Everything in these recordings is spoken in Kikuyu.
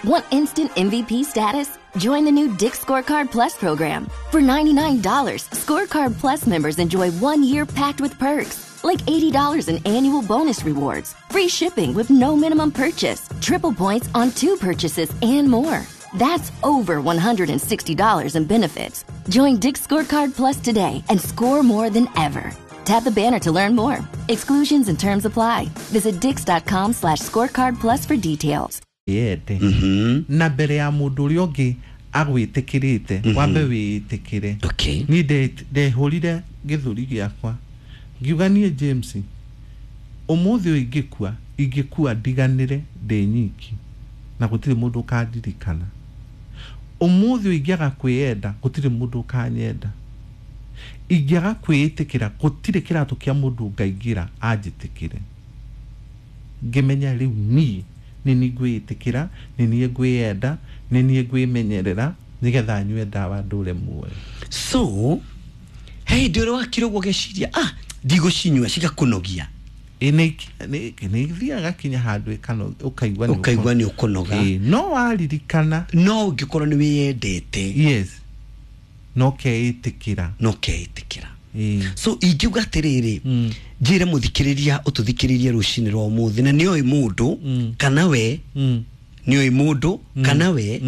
Want instant MVP status? Join the new Dick's Scorecard Plus program. For $99, Scorecard Plus members enjoy 1 year packed with perks, like $80 in annual bonus rewards, free shipping with no minimum purchase, triple points on two purchases, and more. That's over $160 in benefits. Join Dick's Scorecard Plus today and score more than ever. Tap the banner to learn more. Exclusions and terms apply. Visit dix.com/scorecard plus for details. Yende na mbere ya mũndũ ũrĩa ũngĩ agwĩtĩkĩrĩte, wambe wĩĩtĩkĩre. Niĩ ndehũrire gĩthũri gĩakwa, ngiuga, niĩ James, ũmũthĩ ũyũ ingĩkua, ingĩkua ndiganĩre ndĩ nyiki na gũtirĩ mũndũ ũkandirikana. Ũmũthĩ ũyũ ingĩaga kwĩyenda, gũtirĩ mũndũ ũkanyenda. Ingĩaga kwĩĩtĩkĩra, gũtirĩ kĩratũ kĩa mũndũ ngaingĩra anjĩtĩkĩre. Ngĩmenya rĩu niĩ nĩ niĩ ngwĩĩtĩkĩra, nĩ niĩ ngwĩyenda, nĩ niĩ ngwĩmenyerera, nĩgetha nyue ndawa ndũre muoyo. So he hĩndĩ ũrĩa wakira ũguo ũgeciria, ah, ndigũcinyua, cigakũnogia? Ĩ, nĩ ithiaga kinya handũ ũkaigua nĩ Ũkaigua nĩ ũkũnoga. Ĩ, no waririkana. No ũngĩkorwo nĩ wĩyendete. Yes, no keĩtĩkĩra. No keĩtĩkĩra. Ĩ. So ingiuga atĩrĩrĩ, njĩre mũthikĩrĩria ũtũthikĩrĩrie rũcinĩ rwa ũmũthĩ na nĩoĩ mũndũ kana we nĩoĩ mũndũ kana we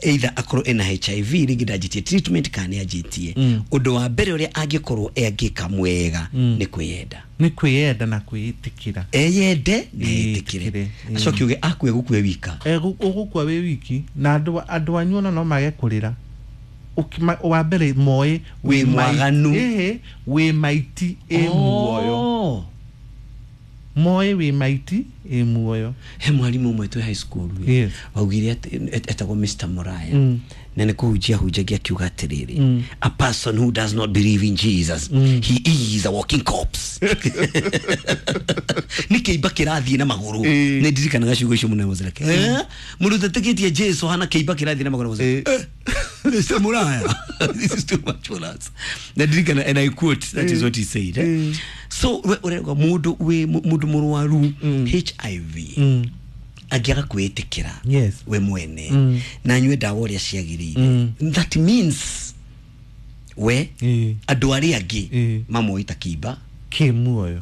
either akorwo ena HIV, rĩngĩ ndanjĩtie treatment kana nĩ anjĩtie, ũndũ wa mbere ũrĩa angĩkorwo angĩka mwega nĩ kwĩyenda. Nĩ kwĩyenda na kwĩĩtĩkĩra. Eyende na Ĩtĩkĩre, etĩkĩre. ĩ. Acoke uge akue gũkue wika. Ũgũkua wĩ wiki na andũ anyu ona no mage kũrĩra. Wa mbere moĩ Wĩ mwaganu. Ĩhĩ, wĩ maiti ĩ muoyo. Oh. Moĩ wĩ maiti ĩ muoyo. He mwarimũ ũmwe twĩ high school waugire atĩ etagwo Mr Moraya, na nĩ kũhunjia hunjagia, akiuga atĩrĩrĩ, "A person who does not believe in Jesus, he is a walking corpse." Nĩ kĩimba kĩrathiĩ na magũrũ. Nĩ ndirikanaga ciugo icio mũno. Mũzirake mũndũ ũtetĩkĩtie Jesu hana kĩimba kĩrathiĩ na magũrũ. Mũzirake, "Mr Muraya, this is too much for us." Na ndirikana, and I quote, that is what he said, eh? So we ũrauga mũndũ wĩ mũndũ mũrwaru HIV angĩaga kwĩĩtĩkĩra we mwene na anyue ndawa ũrĩa ciagĩrĩire, that means we andũ arĩa angĩ mamoĩ ta kĩimba kĩ muoyo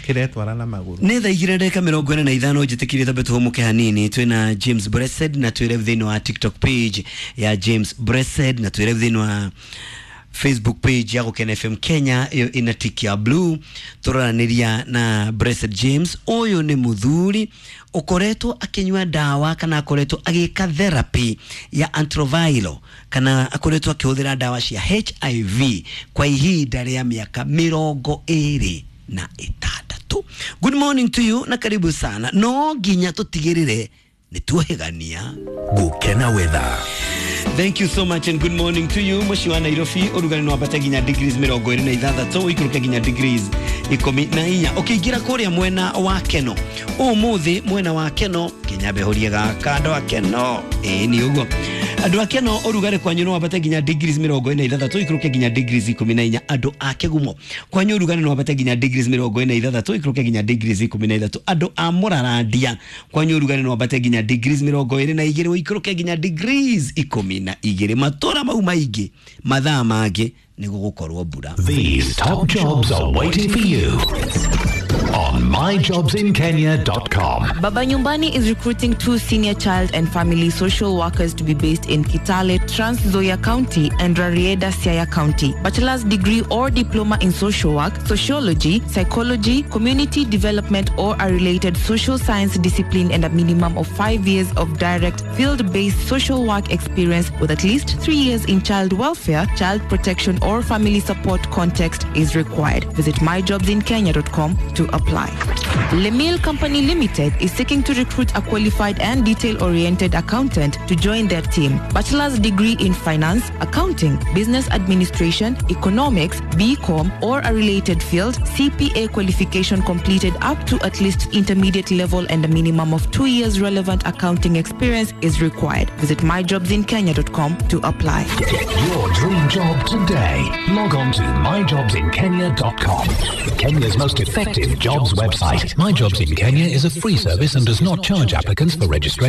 kĩretwara na magũrũ. Nĩ thaa 2:45. Njĩtĩkĩrie tambe tũhũmũke hanini. Twĩna James Blessed na twĩ live thĩinĩ wa TikTok page ya James Blessed na twĩ live thĩinĩ wa Facebook page ya Gũkena FM Kenya, ĩyo ĩna tick ya blue. Tũraranĩria na Blessed James. Ũyũ nĩ mũthuri ũkoretwo akĩnyua ndawa kana akoretwo agĩka therapy ya antiretroviral kana akoretwo akĩhũthĩra ndawa cia HIV kwa ihinda rĩa mĩaka 26. Good morning to you na karibu sana. No nginya tũtigĩrĩre nĩ tuohĩgania. Gukena weather. Thank you so much and good morning to you. Mũciĩ wa Nairobi ũrugarĩ no wambate nginya degrees 26, ũikũrũke nginya degrees 14. Ũkĩingĩra kũrĩa mwena wa Keno ũmũthĩ, mwena wa Keno nginya mbehũrie gaka, andũ a Keno, ĩĩ nĩ ũguo, andũ a Keno ũrugarĩ kwanyu no wambate nginya degrees 46, ũikũrũke nginya degrees 14. Andũ a Kĩgumo kwanyu ũrugarĩ no wambate nginya degrees 46, ũikũrũke nginya degrees 13. Andũ a Mũrarandia kwanyu ũrugarĩ no wambate nginya degrees 22, ũikũrũke nginya degrees 12. Matũra mau maingĩ mathaa mangĩ nĩ gũgũkorwo mbura. These top jobs are waiting for you on myjobsinkenya.com. Baba Nyumbani is recruiting two senior child and family social workers to be based in Kitale, Trans Nzoia County, and Rarieda, Siaya County. Bachelor's degree or diploma in social work, sociology, psychology, community development, or a related social science discipline, and a minimum of 5 years of direct field-based social work experience with at least 3 years in child welfare, child protection, or family support context is required. Visit myjobsinkenya.com to apply. Lemil Company Limited is seeking to recruit a qualified and detail-oriented accountant to join their team. Bachelor's degree in finance, accounting, business administration, economics, BCom, or a related field, CPA qualification completed up to at least intermediate level, and a minimum of 2 years relevant accounting experience is required. Visit myjobsinkenya.com to apply. Get your dream job today. Log on to myjobsinkenya.com. Kenya's most effective jobs website. My Jobs in Kenya is a free service and does not charge applicants for registration.